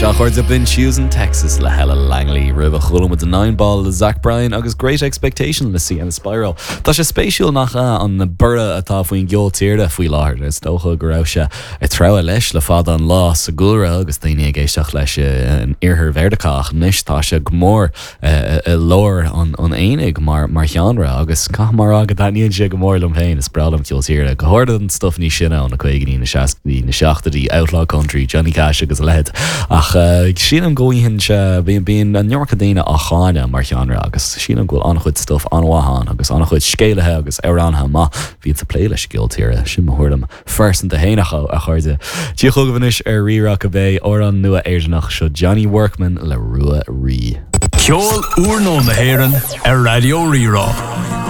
Sea, a chairde, b'in Choosing Texas le Ella Langley. Roimhe chuala muid Nine Ball le Zach Bryan agus Great Expectation le Sienna Spiro. Tá sé spéisiúil, nach ea, an borradh atá faoin gceol tíre faoi láthair. Is dócha go raibh sé ag treabhadh leis le fada an lá sa gcúlra agus daoine ag éisteacht leis in iarthar Mheiriceá ach anois tá sé go mór i lár an aonaigh mar sheánra agus caithfidh mé a rá go dtaitníonn sé go mór liom féin. Is breá liom ceol tíre, go háirithe an stuif níos sine ó na caogaidí, na seascaidí, na seachtóidí, outlaw country, Johnny Cash agus a leithéid. Ach sílim go bhfaigheann sé, bíonn an iomarca daoine á cháineadh mar sheánra agus sílim go bhfuil an-chuid stuif an-mhaith ann agus an-chuid scéalaithe agus amhránaithe maith a bhíonns ag plé leis an gceol tíre. Sin mo thuairim. phearsanta fhéin a chairde. Dia chugaibh anois ar Rí-Rá cibé, amhrán nua Éireannach seo Johnny Workman le Rua Rí. Ceol úrnua na hÉireann ar Raidió Rí-Rá.